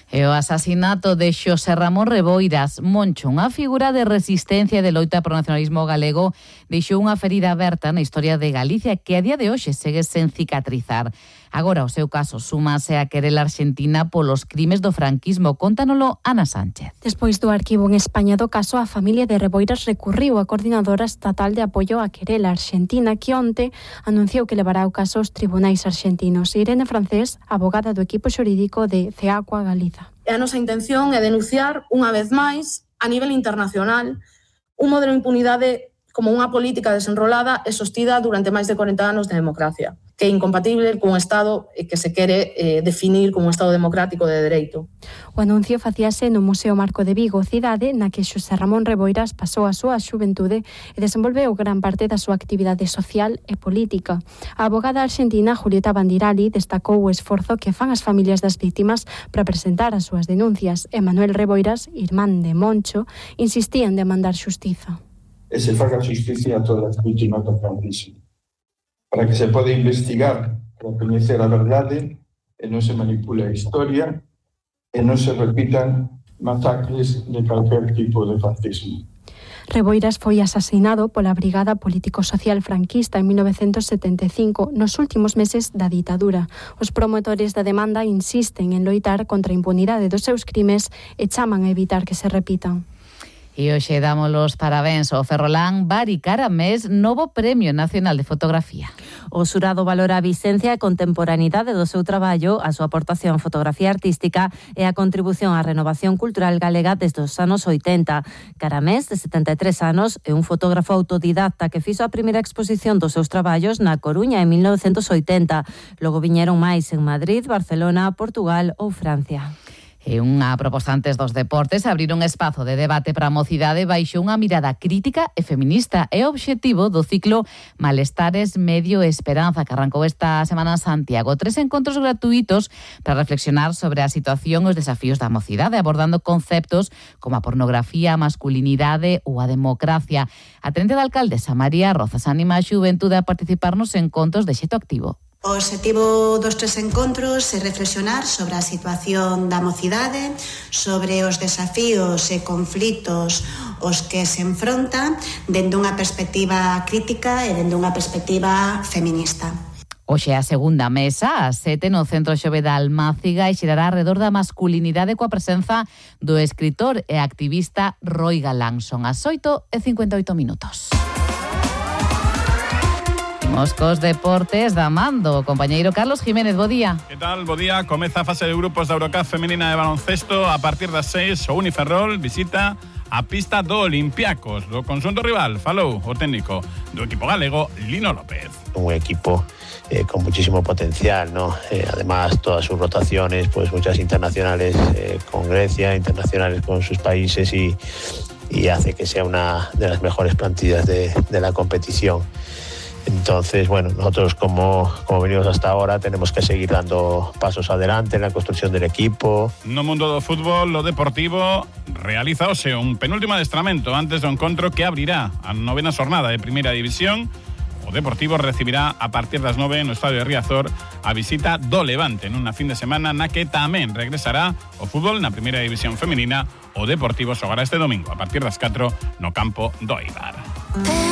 E o asasinato de Xosé Ramón Reboiras Moncho, unha figura de resistencia e de loita pro nacionalismo galego, deixou unha ferida aberta na historia de Galicia que a día de hoxe segue sen cicatrizar. Agora o seu caso súmase a querela arxentina polos crimes do franquismo. Contanolo Ana Sánchez. Despois do arquivo en España do caso, a familia de Reboiras recurriu á Coordinadora Estatal de Apoio á Querela Arxentina, que onte anunciou que levará o caso aos tribunais arxentinos. Irene Francés, abogada do equipo xurídico de CEACUA Galiza. A nosa intención é denunciar unha vez máis a nivel internacional un modelo de impunidade como unha política desenrolada e sostida durante máis de 40 anos de democracia, que é incompatible cun Estado que se quere definir como un Estado democrático de dereito. O anuncio facíase no Museo Marco de Vigo, cidade na que Xosé Ramón Reboiras pasou a súa xuventude e desenvolveu gran parte da súa actividade social e política. A abogada arxentina Julieta Bandirali destacou o esforzo que fan as familias das vítimas para presentar as súas denuncias e Manuel Reboiras, irmán de Moncho, insistía en demandar xustiza. E se faga xusticia a todas as vítimas do franquismo, para que se pode investigar para coñecer a verdade e non se manipule a historia e non se repitan masacres de calquer tipo de fascismo. Reboiras foi asasinado pola Brigada Político-Social franquista en 1975, nos últimos meses da ditadura. Os promotores da demanda insisten en loitar contra a impunidade dos seus crimes e chaman a evitar que se repitan. E hoxe damos os parabéns ao Ferrolán Bari Caramés, novo Premio Nacional de Fotografía. O xurado valora a vicencia e contemporaneidade do seu traballo, a súa aportación á fotografía artística e a contribución á renovación cultural galega desde os anos 80. Caramés, de 73 anos, é un fotógrafo autodidacta que fixo a primeira exposición dos seus traballos na Coruña en 1980. Logo viñeron máis en Madrid, Barcelona, Portugal ou Francia. E unha proposta antes dos deportes, abrir un espazo de debate para a mocidade baixo unha mirada crítica e feminista. É o obxectivo do ciclo Malestares, Medio e Esperanza, que arrancou esta semana en Santiago. 3 encontros gratuitos para reflexionar sobre a situación e os desafíos da mocidade, abordando conceptos como a pornografía, a masculinidade ou a democracia. A tenente da alcaldesa María Rozas anima a xuventude a participar nos encontros de xeito activo. O obxectivo dos 3 encontros é reflexionar sobre a situación da mocidade, sobre os desafíos e conflitos os que se enfronta dende unha perspectiva crítica e dende unha perspectiva feminista. Hoxe a segunda mesa, ás 7, no Centro Xove da Almáciga, e xerará alrededor da masculinidade coa presenza do escritor e activista Roi Galán. Son as 8:58. Cos deportes da Mando, compañeiro Carlos Jiménez, bo día. Que tal, bo día. Comeza a fase de grupos da Eurocup femenina de baloncesto. A partir das 6, o Uniferrol visita a pista do Olympiacos, do conxunto rival. Falou o técnico do equipo galego, Lino López. Un equipo con muchísimo potencial, ¿no? Además, todas sus rotaciones, pues muchas internacionales con Grecia, internacionales con sus países y hace que sea una de las mejores plantillas de la competición. Entonces, bueno, nosotros como venimos hasta ahora tenemos que seguir dando pasos adelante en la construcción del equipo. No mundo do fútbol, lo deportivo realiza hoxe un penúltimo adestramento antes do encontro que abrirá a 9ª xornada de Primeira División. O Deportivo recibirá a partir das 9 no estadio de Riazor a visita do Levante nunha fin de semana na que tamén regresará o fútbol na Primeira División feminina. O Deportivo xogará este domingo a partir das 4 no campo do Eibar.